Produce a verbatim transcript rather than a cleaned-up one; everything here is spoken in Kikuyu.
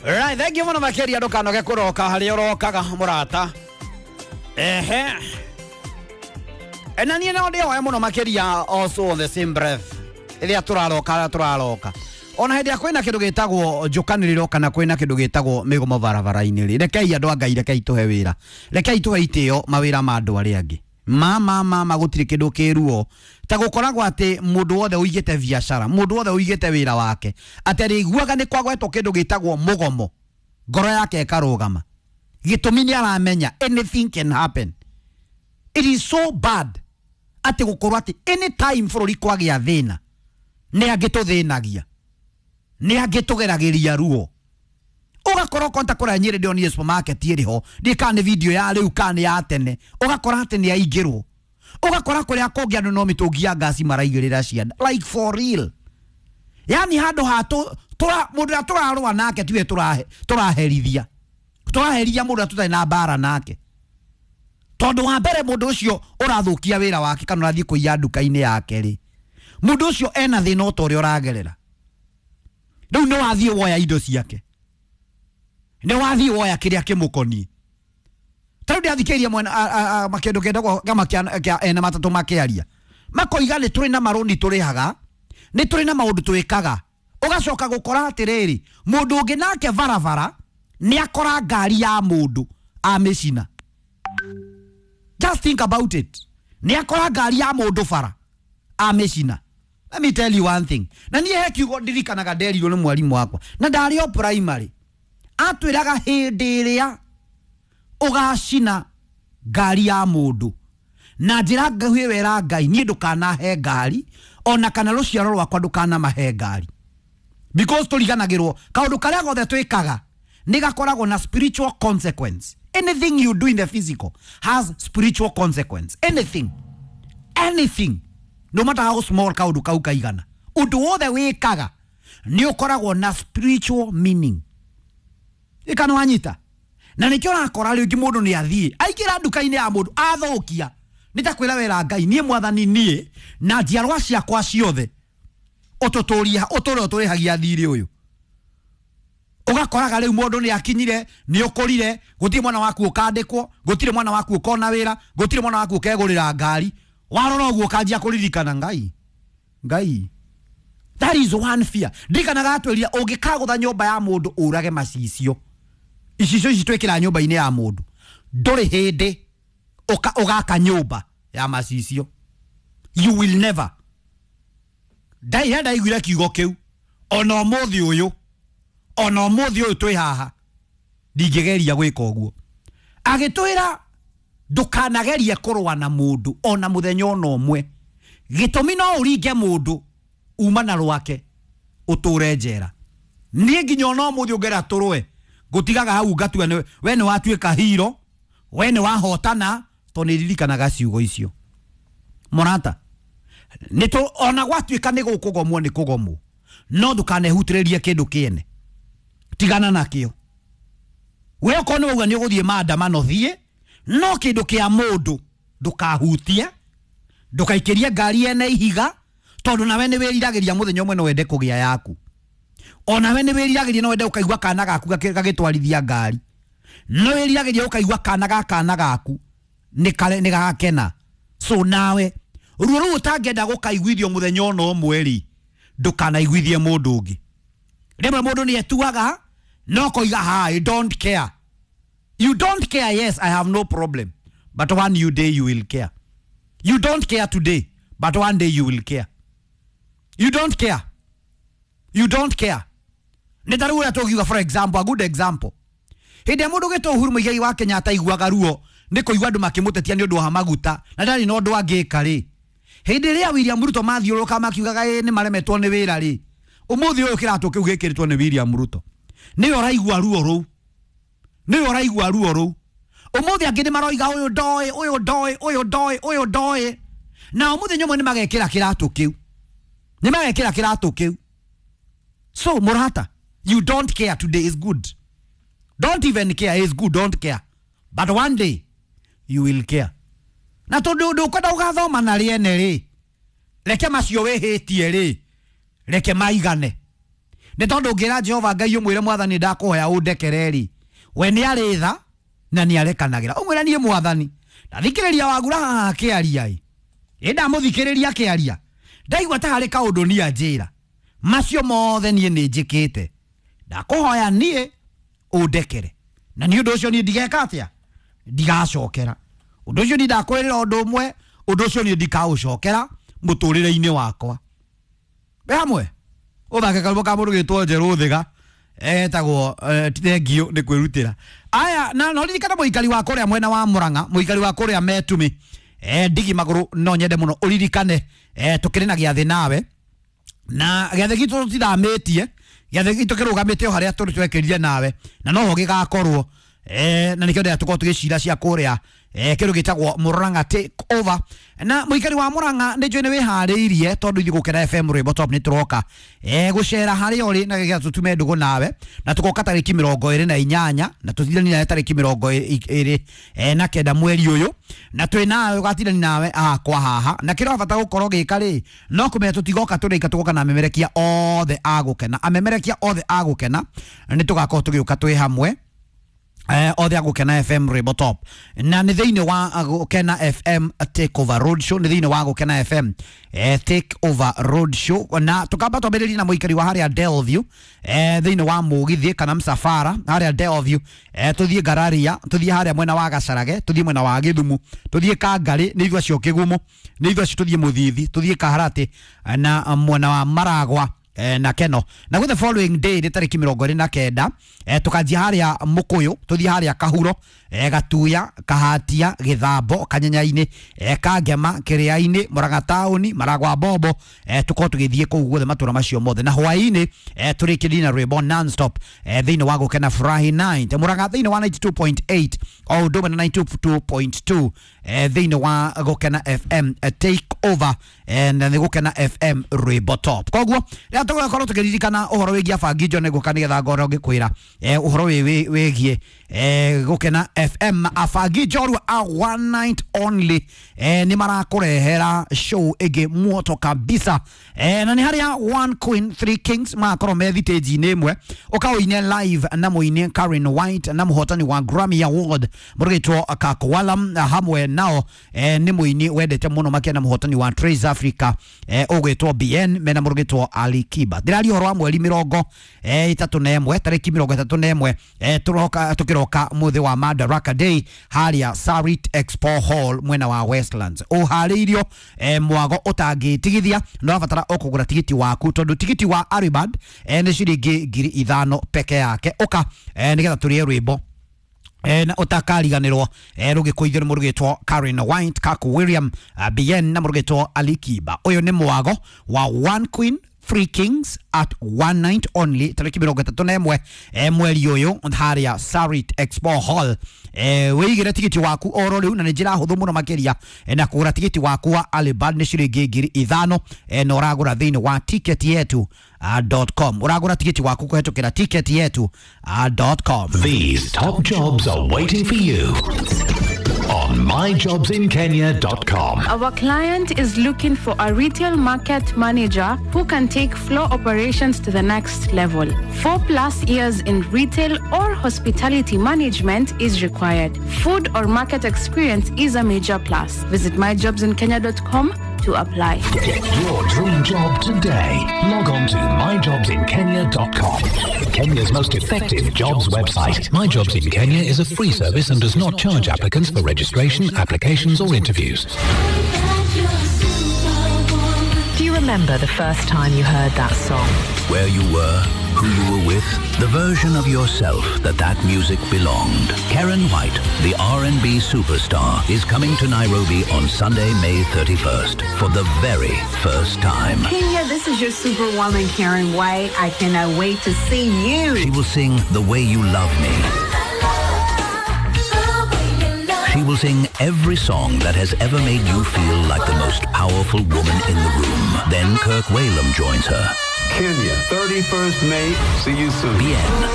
Right, thank you muno makiria ndukanoge kuroka haria urokaga murata. Ehe. Na niĩ no ndĩhoe mũno makĩria also on the same breath rĩrĩa tũraroka tũraroka ona hĩndĩ ĩrĩa kwĩna kĩndũ gĩtagwo njũkanĩrĩro kana kwĩna kĩndũ gĩtagwo mĩgomo barabara-inĩ rĩ, rekei andũ a Ngai, rekei tũhe wĩra, rekei tũhe itĩo mawĩra ma andũ arĩa angĩ. Ma ma ma ma gũtirĩ kĩndũ kĩruo ta gũkoragwo atĩ mũndũ wothe ũigĩte biacara, mũndũ wothe ũigĩte wĩra wake, atĩ arĩiguaga nĩ kwagwetwo kĩndũ gĩtagwo mũgomo, ngoro yake ĩkarũgama. Gĩtũmi nĩ aramenya anything can happen. It is so bad atĩ gũkorwo atĩ anytime bũrũri kwagĩa thĩna nĩ angĩ tũthĩnagia, nĩ angĩ tũgeragĩria ruo. Ũgakora konta kũrĩa Nyĩrĩ ndĩronire supermarket ĩrĩ ho, ndiĩ kana nĩ video ya rĩu kana nĩ ya tene, ũgakora atĩ nĩ aingĩrwo. Ũgakora kũrĩa kũngĩ andũ no mĩtũngi ya ngasi maraigĩrĩra ciana, like for real. Yani handũ ha tũ mũndũ ũrĩa tũrarũa nake tiwe tũrahe tũraherithia, tũraherithia mũndũ ũrĩa tũtarĩ na mbara nake. Tondũ wa mbere mũndũ ũcio ũrathũkia wĩra wake kana ũrathiĩ kũiya nduka-inĩ yake rĩ, mũndũ ũcio ena thĩna o ta ũrĩa ũragerera. Rĩu nĩ wathiĩ woya indo ciake, nĩ wathiĩ woya kĩrĩa kĩmũkoniĩ. Ta rĩu ndĩrathikĩrĩria mwena kĩndũ kĩtagwo kĩama kĩa ene matatũ makĩaria, makoiga nĩ tũrĩ na marũni tũrĩhaga, nĩ tũrĩ na maũndũ twĩkaga. Ũgacoka gũkora atĩrĩrĩ, mũndũ ũngĩ nake barabara nĩ akora ngari ya mũndũ amĩcina. Just think about it. Nĩ akora ngari ya mũndũ bara amĩcina. Let me tell you one thing. Na niĩ he kiugo ndirikanaga nderirwo nĩ mwarimũ wakwa na ndarĩ o primary, atwĩraga hĩndĩ ĩrĩa ũgacina ngari ya mũndũ na njĩra nguhĩ wera Ngai, niĩ ndũkanahe ngari ona kana rũciaro rwakwa ndũkanamahe ngari, because tũriganagĩrwo kaũndũ karĩa gothe twĩkaga nĩ gakoragwo na spiritual consequence. Anything you do in the physical has spiritual consequence. Anything, anything, no matter how small kaũndũ kau kaigana, ũndũ wothe wĩkaga nĩ ũkoragwo na spiritual meaning. Ĩka nĩ wanyita? Na nĩkĩo ũrakora rĩngĩ mũndũ nĩ athiĩ aingĩra nduka-inĩ ya mũndũ athũkia, nĩ ta kwĩra wera Ngai, niĩ mwathani niĩ na njiarwa ciakwa ciothe ũtũtũrie ũtũre ũtũrĩhagia thirĩ ũyũ. Ũgakoraga rĩu mũndũ nĩ akinyire, nĩ ũkũrire, gũtirĩ mwana waku ũkandĩkwo, gũtirĩ mwana waku ũkona wĩra, gũtirĩ mwana waku ũkegũrĩra ngari. Warora ũguo ũkanjia kũririkana Ngai, Ngai. That is one fear. Ndirikanaga atwĩrire ũngĩkagũtha nyũmba ya mũndũ ũrage macicio, icicio ici twĩkĩra nyũmba-inĩ ya mũndũ, ndũrĩ hĩndĩ ũgaka nyũmba ya macicio. You will never. Ndaira ndaiguire kiugo kĩu ona ũmũthĩ ũyũ, ona ũmũthĩ ũyũ twĩ haha ndingĩgeria gwĩka ũguo. Agĩtwĩra ndũkanagerie kũrũa na mũndũ ona mũthenya ona ũmwe, gĩtũmi no ũringe mũndũ uma na rwake ũtũre njera. Niĩ nginya ona ũmũthĩ ũngĩra tũrũe ngũtigaga hau ngatua we nĩ watuĩka hero, we nĩ wahotana, tondũ nĩ ndirikanaga ciugo icio. Mũrata, nĩ tũ ona gwatuĩka nĩ gũkũgomwo nĩ kũgomwo, no ndũkanehutĩrĩrie kĩndũ kĩene, tigana nakĩo. We okorwo nĩ wauga nĩ ũgũthiĩ maandamano thiĩ, no kĩndũ kĩa mũndũ ndũkahutie, ndũkaikĩrie ngari ene ihiga, tondũ nawe nĩ wĩriragĩria mũthenya ũmwe no wende kũgĩa yaku. Ona we nĩ wĩriragĩria no wende ũkaigua kana gaku gagĩtwarithia ngari, no wĩriragĩria ũkaigua kana ga kana gaku nĩ kare nĩ gakena. So nawe ruo rũu ũtangĩenda gũkaiguithio mũthenya ona ũmwe rĩ, ndũkanaiguithie mũndũ ũngĩ. Rĩmwe mũndũ nĩ etuaga no koiga ha, I don't care. You don't care, yes, I have no problem, but one new day you will care. You don't care today, but one day you will care. You don't care. You don't care. Nĩ ta rĩu ũrĩa tũngiuga, for example, a good example, hĩndĩ ĩrĩa mũndũ ũgĩtwo Uhuru Muigai wa Kenyatta aiguaga ruo nĩ kũigua andũ makĩmũtetia nĩ ũndũ wa maguta na ndarĩ na ũndũ angĩka rĩ, hĩndĩ ĩrĩa William Ruto mathiũrũrũka makiugaga ĩ nĩ maremetwo nĩ wĩra rĩ, ũmũthĩ ũyũ kĩratũ kĩu gĩkĩrĩtwo nĩ William Ruto, nĩwe ũraigua ruo rũu, nĩwe ũraigua ruo rũu. Ũmũthĩ angĩ nĩ maroiga ũyũ ndoĩ, ũyũ ndoĩ, ũyũ ndoĩ, ũyũ ndoĩ, na ũmũthĩ ũmwe nĩ magekĩra kĩratũ kĩu, nĩ magekĩra kĩratũ kĩu. So mũrata, you don't care today is good. Don't even care is good, don't care. But one day you will care. Na tondu ndukwenda ugathoma na rĩene rĩ, reke macio wĩhĩtie rĩ, reke maigane. Nĩ tondũ ũngĩra Jehova Ngai ũmwĩre mwathani ndakũhoya ũndekere rĩ, we nĩ arĩ tha na nĩ arekanagĩra. Ũmwĩre niĩ mwathani ndathikĩrĩria Wagura haha akĩaria ĩ, ĩ ndamũthikĩrĩria akĩaria ndaigua ta harĩ kaũndũ niĩ anjĩra, macio mothe niĩ nĩ njĩkĩte, ndakũhoya niĩ ũndekere, na nĩ ũndũ ũcio niĩ ndigeka atĩa, ndigacokera ũndũ ũcio. Niĩ ndakwĩrĩra ũndũ ũmwe, ũndũ ũcio niĩ ndikaũcokera mũtũrĩre-inĩ wakwa. Wĩ hamwe ũthake karũmbo ka mũndũ gĩtwo Njerũ Thiga etagwo thengiũ nĩ kwĩrutĩra. Aya, na no ririkana mũikari wa kũrĩa mwena wa Murang'a, mũikari wa kũrĩa Metumi, eh ndigi magũrũ, no nyende mũno ũririkane eh tũkĩrĩ na gĩathĩ nawe, na gĩathĩ gitũ tũtithamĩtie, gĩathĩ gitũ kĩrũgamĩte o harĩa tũrĩ twekĩrire nawe, na noho gĩgakorwo eh na nĩkĩo ndĩrenda tũkorwo tũgĩcira cia kũrĩa eh kĩndũ gĩtagwo Murang'a Take Over. Na mũikari wa Murang'a nĩ njũĩ nĩ wĩharĩirie tondũ ithuĩ Gũkena F M Rwĩmbo Top nĩ tũroka eh gũcera harĩa ũrĩ na gĩgetha tũtume ndũgũ nawe, na tũgoka tarĩki mĩrongo ĩrĩ na inyanya na tũthirani nawe tarĩki mĩrongo ĩrĩ eh na kenda mweri ũyũ, na twĩ nawe ũgatirani nawe akwa haha. Na kĩrĩa bata gũkorwo gĩka rĩ, no kũmenya tũtigoka tũrĩka, tũgoka na amemerekia othe a Gũkena, amemerekia othe a Gũkena nĩ tũgakorwo tũgĩũka twĩ hamwe eh othe a Gũkena F M Rwĩmbo Top, na nĩ thĩinĩ wa Gũkena F M Take Over Road Show, nĩ thĩinĩ wa Gũkena F M eh Take Over Road Show. Na tukamba twambĩrĩrie na mũikari wa harĩa Delview eh thĩinĩ wa mũgithi kana msafara harĩa Delview, eh tũthiĩ Ngararia, tũthiĩ harĩa mwena wa Gacarage, tũthiĩ mwena wa Gĩthumo, tũthiĩ Kangarĩ, nĩ ithuĩ acio Kĩgumo, nĩ ithuĩ acio tũthiĩ Mũthithi, tũthiĩ Kaharatĩ na mwena wa Maragwa eh, na Keno. Na the following day nĩ tarĩki mĩrongo ĩrĩ na kenda eh, tũkanjia harĩa Mũkũyũ, tũthiĩ harĩa Kahuro, eh, Gatuya, Kahatia, Gĩthambo, Kanyenya-inĩ, eh, Kangema, Kĩrĩa-inĩ, Murang'a taũni, Maragwa Bombo, eh, tũkorwo tũgĩthiĩ kũu guothe matũra macio mothe. Na hwaĩ-inĩ eh, tũrĩkĩrĩrie na rwĩmbo non-stop eh, thĩinĩ wa Gũkena Furahi nine Murang'a thĩinĩ wa ninety two point eight o ũndũ ũmwe na ninety two point two eh, thĩinĩ wa Gũkena F M eh, Take Over eh, na nĩ Gũkena F M Rwĩmbo Top. Koguo rĩrĩa tũgũkorwo tũkĩririkana ũhoro wĩgiĩ abangi njo nĩ ngũka nĩgetha ngorwo ngĩkwĩra eh, ũhoro wĩgiĩ eh, Gũkena F M. Abangi njorua a one night only eh, nĩ marakũrehera show ĩngĩ muoto kabisa eh, na nĩ harĩa one queen three kings magakorwo me thitĩnji-inĩ ĩmwe, ũkaũine live na mũini Karen White na mũhotani wa Grammy Award mũrũgĩtwo Kakwalam, hamwe nao eh, nĩ mũini wendete mũno makĩria na mũhotani wa Trace Africa eh, ũgwĩtwo B N mena mũrũgĩtwo Ali Kiba. Ndĩraria ũhoro wa mweri mĩrongo eh, ĩtatũ na ĩmwe, tarĩki mĩrongo ĩtatũ na ĩmwe eh, tũroka tũkĩroka mũthĩ wa Madaraka Day harĩa Sarit Expo Hall mwena wa Westlands. Ũharĩirio eh, mwago ũtangĩtigithia, no ũrabatara o kũgũra tigiti waku tondũ tigiti wa Aribad eh, nĩ ciringi ngiri ithano peke yake. Ũka eh, nĩgetha tũrĩe rwĩmbo eh, na ũtakariganĩrwo eh, rũgĩkũithio nĩ mũrũgĩtwo Karen White, Kaku William, uh, B N na mũrũgĩtwo Ali Kiba. Ũyũ nĩ mwago wa one queen three kings at one night only tarĩki mĩrongo ĩtatũ na ĩmwe eh, mweri ũyũ harĩa Sarit Expo Hall. Eh, wĩigĩre tigiti waku oro rĩu na nĩ njĩra hũthũ mũno makĩria eh, na kũgũra tigiti waku wa Alibad nĩ ciringi ngiri ithano eh, na ũragũra thĩinĩ wa ticket yetu uh, dot com. Ũragũra tigiti waku kũhetũkĩra ticket yetu uh, dot com. These top jobs are waiting for you on my jobs in kenya dot com. Our client is looking for a retail market manager who can take floor operations to the next level. Four plus years in retail or hospitality management is required. Food or market experience is a major plus. Visit my jobs in kenya dot com to apply. Get your dream job today. Log on to my jobs in kenya dot com. Kenya's most effective jobs website. My Jobs in Kenya is a free service and does not charge applicants for registration, applications or interviews. Do you remember the first time you heard that song? Where you were, who you were with, the version of yourself that that music belonged. Karen White, the R and B superstar, is coming to Nairobi on Sunday, May thirty-first, for the very first time. Kenya, this is your superwoman, Karen White. I cannot wait to see you. She will sing The Way You Love Me. She will sing every song that has ever made you feel like the most powerful woman in the room. Then Kirk Whalum joins her. Kenya, thirty-first May. See you soon. B N,